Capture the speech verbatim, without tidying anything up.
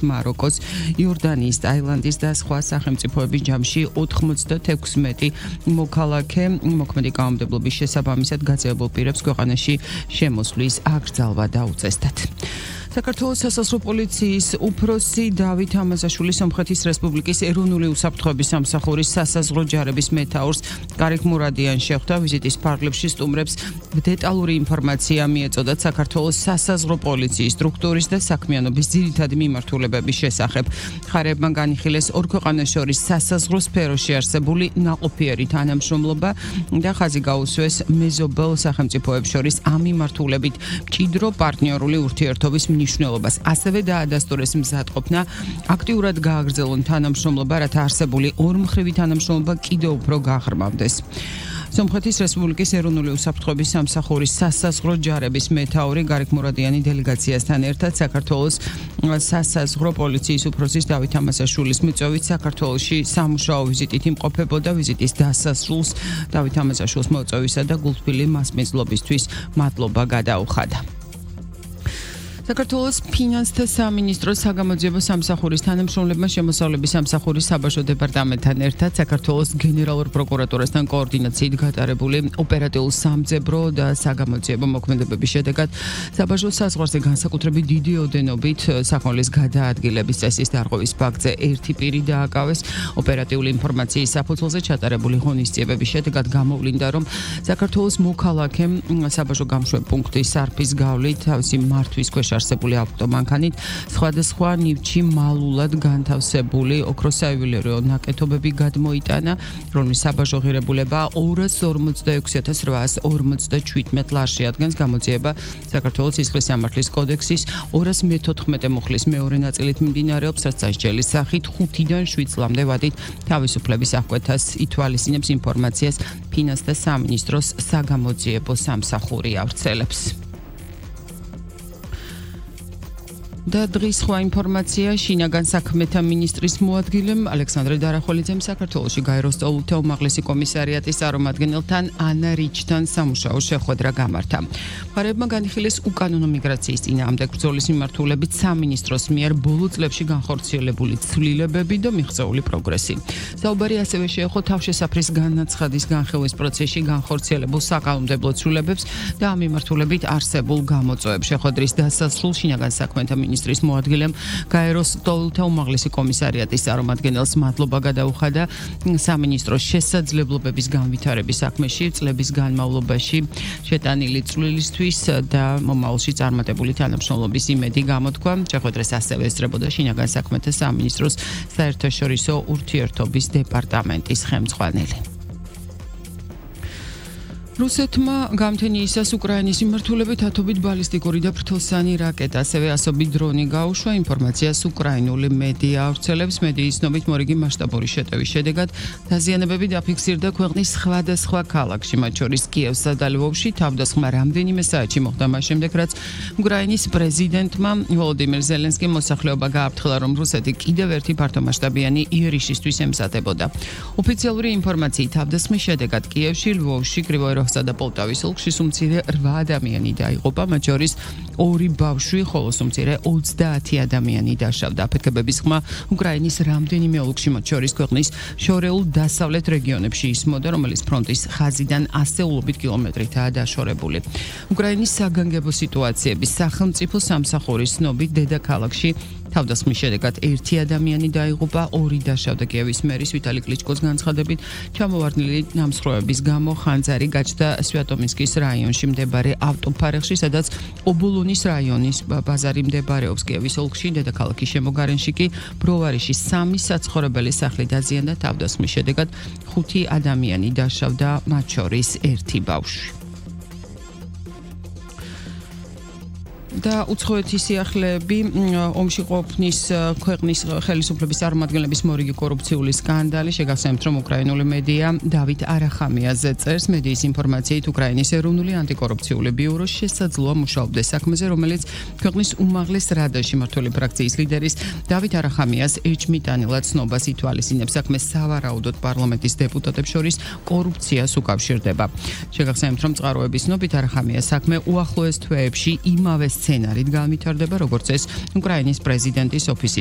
მაროკოს, იორდანიის, ტაილანდის და სხვა სახელმწიფოების ჯამში ოთხმოცდათექვსმეტი მოქალაქე მოქმედი კანონმდებლობის შესაბამისად გაძევებულ პირებს ქვეყანაში შემოსვლის აკრძალვა დაუწესდათ. საქართველოს სასაზღვრო პოლიციის უფროსი დავით ამაზაშვილი სომხეთის რესპუბლიკის ეროვნული უსაფრთხოების სამსახურის სასაზღვრო ჯარების მეთაურს კარიქ მურადიან შეხვდა ვიზიტის ფარგლებში სტუმრებს დეტალური ინფორმაცია მიეწოდათ საქართველოს სასაზღვრო პოლიციის სტრუქტურის და საქმიანობის ძირითადი მიმართულებების შესახებ. მხარეებმა განიხილეს ორ ქვეყანას შორის სასაზღვრო სფეროში არსებული ნაყოფიერი თანამშრომლობა და ხაზი გაუსვეს მეზობელ სახელმწიფოებს შორის ამ მიმართულებით მჭიდრო პარტნიორული ურთიერთობის მნიშვნელობას. ასევე დაადასტურეს მზადყოფნა აქტიურად გააგრძელონ თანამშრომლობა, რათა არსებული ორმხრივი თანამშრომლობა კიდევ უფრო გაღრმავდეს. სომხეთის რესპუბლიკის ეროვნული უსაფრთხოების სამსახურის სასაზღვრო ჯარების მეთაური გარიქ მურადიანი დელეგაციასთან ერთად საქართველოს სასაზღვრო პოლიციის უფროსის დავით ამაზაშვილის მიწვევით საქართველოში სამუშაო ვიზიტით იმყოფებოდა. ვიზიტის დასასრულს დავით ამაზაშვილის მოწვევისა და გულთბილი მასპინძლობისთვის მადლობა გადაუხადა. საქართველოს ფინანსთა სამინისტროს საგამოძიებო სამსახურის თანამშრომლებმა შემოსავლების სამსახურის საბაჟო დეპარტამენტთან ერთად საქართველოს გენერალურ პროკურატურასთან კოორდინაციით გატარებული ოპერატიულ სამძებრო და საგამოძიებო მოქმედებების შედეგად საბაჟო საზღვარზე განსაკუთრებით დიდი ოდენობით სახმლის გადაადგილების წესის დარღვევის ფაქტზე ერთი პირი დააკავეს. ოპერატიული ინფორმაციის საფუძველზე ჩატარებული ღონისძიებების შედეგად გამოვლინდა, რომ საქართველოს მოქალაქემ საბაჟო გამშვებ პუნქტის სარფის გავლით თავისი მართვის ქვეშ არსებული ავტომანქანით სხვადასხვა ნივთში მალულად განთავსებული ოქროსაიუველირო ნაკეთობები გადმოიტანა, რომლის საბაჟო ღირებულება ორას ორმოცდაექვსი ათას რვაას ორმოცდაჩვიდმეტ ლარში ადგენს. გამოძიება საქართველოს სისხლის სამართლის კოდექსის ორას მეთოთხმეტე მუხლის მეორე ნაწილით მიმდინარეობს, რაც სასჯელის სახით ხუთიდან შვიდ წლამდე ვადით თავისუფლების აღკვეთას ითვალისწინებს ინფორმაციას ფინანსთა სამინისტროს საგამოძიებო სამსახური ავრცელებს. და დღის სხვა ინფორმაცია შინაგან საქმეთა მინისტრის მოადგილემ ალექსანდრე დარახველიძემ საქართველოში გაეროს წოლთა უმაღლესი კომისარიატის წარმომადგენელთან ანა რიჩთან სამუშაო შეხვედრა გამართა. მხარეებმა განიხილეს უკანონო მიგრაციის წინააღმდეგ ბრძოლის მიმართულებით სამინისტროს მიერ ბოლო წლებში განხორციელებული ცვლილებები და მიღწეული პროგრესი. საუბარი ასევე შეეხო თავშესაფრის განაცხადის განხილვის პროცესში განხორციელებულ საკანონმდებლო ცვლილებებს და ამ მიმართულებით არსებულ გამოწვევებს. შეხვედრის დასასრულს შინაგან საქმეთა მინისტრის მოადგილემ გაეროს წოლთა უმაღლესი კომისარიატის წარმომადგენელს მადლობა გადაუხადა სამინისტროს შესაძლებლობების განვითარების საქმეში წლების განმავლობაში შეტანილი წვლილისთვის და მომავალში წარმატებული თანამშრომლობის იმედი გამოთქვა. შეხვედრას ასევე ესწრებოდა შინაგან საქმეთა სამინისტროს საერთაშორისო ურთიერთობის დეპარტამენტის ხელმძღვანელი. რუსეთმა გამთენიისას უკრაინის მიმართულებით ათობით ბალისტიკური და ფრთოსანი რაკეტა, ასევე ასობით დრონი გაუშვა. ინფორმაციას უკრაინული მედია ავრცელებს. მედიის ცნობით მორიგი მასშტაბური შეტევის შედეგად დაზიანებები დაფიქსირდა ქვეყნის სხვადასხვა ქალაქში, მათ შორის კიევსა და ლვოვში. თავდასხმა რამდენიმე საათში მოხდა მას შემდეგ, რაც უკრაინის პრეზიდენტმა ვოლოდიმირ ზელენსკიმ მოსახლეობა გააფრთხილა, რომ რუსეთი კიდევ ერთი ფართომასშტაბიანი იერიშისთვის ემზადებოდა. ოფიციალური ინფორმაციით თავდასხმის შედეგად კიევში, ლვოვში, კრივოი და პოლტავის ოლქში სუმცირე რვა ადამიანი დაიღუპა, მათ შორის ორი ბავშვი, ხოლო სუმცირე ოცდაათი ადამიანი დაშავდა. აფეთქებების ხმა უკრაინის რამდენიმე ოლქში, მათ შორის ქვეყნის შორეულ დასავლეთ რეგიონებში ისმოდა, რომელიც ფრონტის ხაზიდან ასეულობით კილომეტრითაა დაშორებული. უკრაინის საგანგებო სიტუაციების სახელმწიფო სამსახურის ცნობით დედაქალაქში თავდასხმის შედეგად ერთი ადამიანი დაიღუპა, ორი დაშავდა. კიევის მერის ვიტალი კლიჩკოს განცხადებით, ჩამოვარდნილი ნამსხვრევების გამო ხანძარი გაჩნდა სვიატომინსკის რაიონში მდებარე ავტოფარეხში, სადაც ობოლონის რაიონის ბაზარი მდებარეობს. კიევის ოლქში დედაქალაქის შემოგარენში კი ბროვარიში სამი საცხოვრებელი სახლი დაზიანდა. თავდასხმის შედეგად ხუთი ადამიანი დაშავდა, მათ შორის ერთი ბავშვი. და უცხოეთის სიახლეები ომში ყოფნის ქვეყნის ხელისუფლების წარმომადგენლების მორიგი კორუფციული სკანდალი. შეგახსენებთ, რომ უკრაინული მედია დავით არახამიაზე წერს. მედიის ინფორმაციით უკრაინის ეროვნული ანტიკორუფციული ბიურო შესაძლოა მუშაობდეს საქმეზე, რომელიც ქვეყნის უმაღლეს რადაში მმართველი ფრაქციის ლიდერის დავით არახამიას ეჭმიტანილად ცნობას ითვალისწინებს. საქმე სავარაუდოდ პარლამენტის დეპუტატებს შორის კორუფციას უკავშირდება. შეგახსენებთ, რომ წყაროების ცნობით არახამიას საქმე უახლოეს თვეებში იმავე სცენარით განვითარდება, როგორც ეს უკრაინის პრეზიდენტის ოფისის